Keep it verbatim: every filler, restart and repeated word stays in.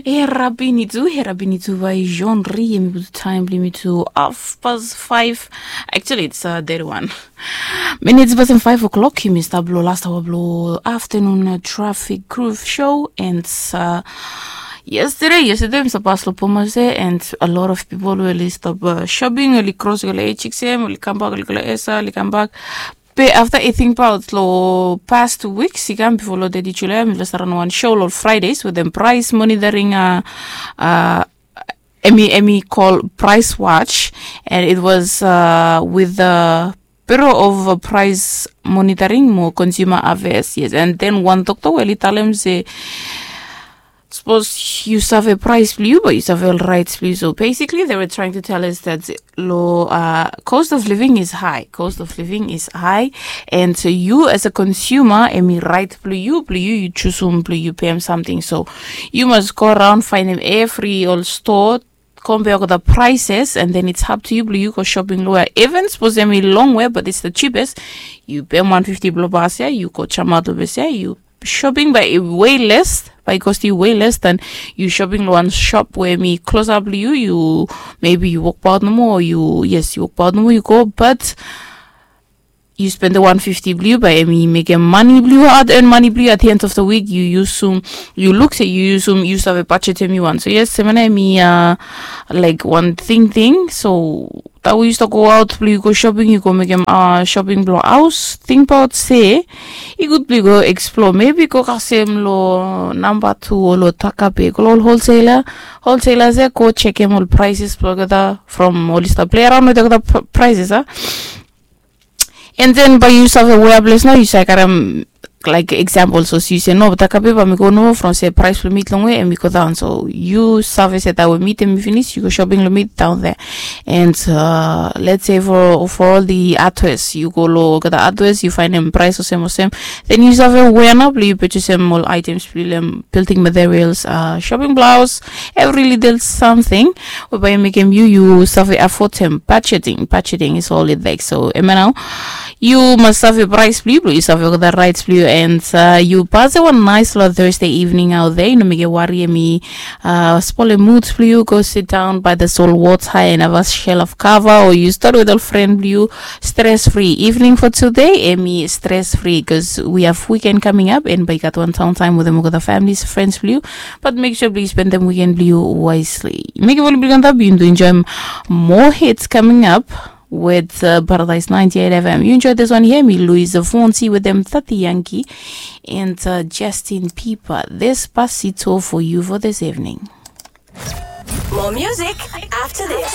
Herabini tu, herabini tu vai Jean Ri, yumi putu taem blong yumi tu half past five. Actually, it's uh, thirty-one minutes past five o'clock. Yumi stap long last hour blong afternoon uh, traffic groove show and uh, yesterday, yesterday yumi stap pas long Pomase and a lot of people were stop uh, shopping, oli cross go long H X M, oli come back, oli go long Esa, oli come back. Be afta i tingbaot long past tu wiks i kam bifo long thirty Julai, mi ves around wan show long Fridays with them price monitoring uh, uh, Emmy Emmy call Price Watch, and it was uh, with the Bureau of uh, Price Monitoring mo Consumer Affairs. Yes, and then one doctor weli talem se suppose you save price blong you, but you save all rights blong you. So basically, they were trying to tell us that lo uh, cost of living is high. Cost of living is high, and so you as a consumer, emi right blong you, blong you, you choose whom blong you pay him something. So you must go around find him every all store. Compare the prices and then it's up to you blong you go shopping lo where even suppose emi long way but it's the cheapest. You pay one fifty blong bas ya, you go chama to bes ya, you shopping by way less, by cost you way less than you shopping lo one shop where mi close up you, you maybe you walk out no more, you yes, you walk out no more, you go, but you spend the one fifty blue by emi make a money blue, hard earn money blue at the end of the week. You use some, you look say you use some, you have a budget emi one. So yes, semana emi uh, like one thing thing. So that we used to go out, you go shopping, you go make a uh, shopping blong house. Think about say, i good blong go explore. Maybe go kasem lo number two o lo Takape, go lo wholesaler. Wholesaler se go check him all prices blong kata from all this play around with the prices, huh? And then by you save wea ples nao you save karem like example so you say no Takape ba mi go no from se price blong meat long we and mi go down. So you save se that we meat and mi finish, you go shopping lo meat down there. And uh, let's say for for all the artworks, you go lo kata artworks, you find them price osem osem. Then you save wea nao blong you purchase them all items blong them building materials, uh, shopping blouse, every little something. Whereby you make them you you save afford them, budgeting. Budgeting is all it takes. So emi nao you must save price blong you, blong you save kata rights blong you, and uh, you pass one nice lo Thursday evening out there. You know, make a worry emi uh, spoil a mood blong you. Go sit down by the soul water and have a shell of cover, or you start with a friend blong you. Stress free evening for today, emi stress free because we have weekend coming up and by got one town time with them with the families, friends blong you. But make sure blong you spend them weekend blong you wisely. Make it blong you enjoy more hits coming up with uh, Paradise ninety-eight F M. You enjoy this one here, me Louise Fonsi with them thirty Yankee and uh, Justin Bieber. This Pasito for you for this evening. More music after this.